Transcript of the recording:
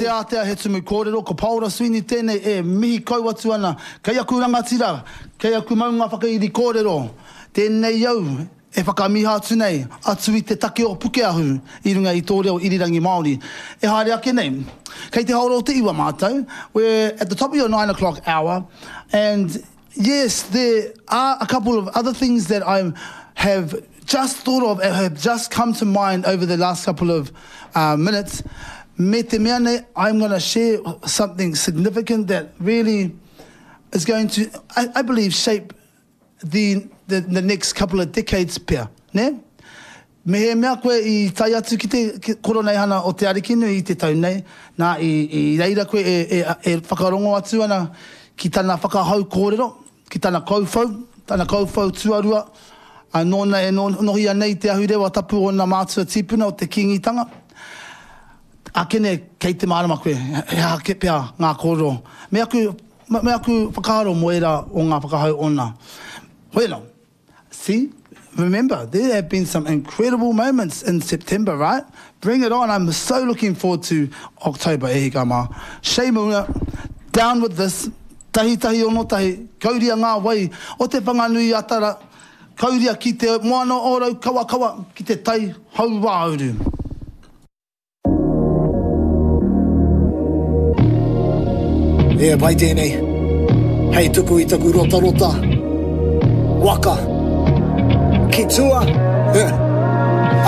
Te Ātea He Tumu Kōrero, ko Paora Sweeney tēnei e mihi kau atu ana kei aku rangatira, kei aku maunga whakairi kōrero, tēnei au e whakamiha atu nei, atu i te take o Pukeahu i runga i tō reo irirangi Māori. E haere ake nei, kei te haora o te iwa mātou, we're at the top of your nine o'clock hour, and yes, there are a couple of other things that I have just thought of and have just come to mind over the last couple of uh, minutes. Me te mea nei, I'm going to share something significant that really is going to, I, I believe, shape the, the, the next couple of decades pea, ne? Mehemea koe i tae atu ki te Koroneihana o Te Arikinui i te tau nei, nā, i, i reira koe e, e, e whakarongo atu ana ki tana whakahau kōrero, ki tana kauwhau, tana kauwhau tuarua, ā, nōna e nohia nei te ahurewa tapu o ōna mātua tīpuna o te Kīngitanga. Akene kei te mārama koe, he aha kē pea ngā kōrero, me aku, me aku whakaaro mō ērā o ngā whakahau ōna. Hoi anō. See, remember, there have been some incredible moments in September, right? Bring it on, I'm so looking forward to October, e hika mā. Shame Maunga, down with this, tahi tahi ono tahi, kauria ngā wai o Te Whanganui-a-Tara, kauria ki te moana o Raukawakawa, ki te tai hauāuru. E pai tēnei. Hei tuku i taku rotarota. Waka. Ki tua.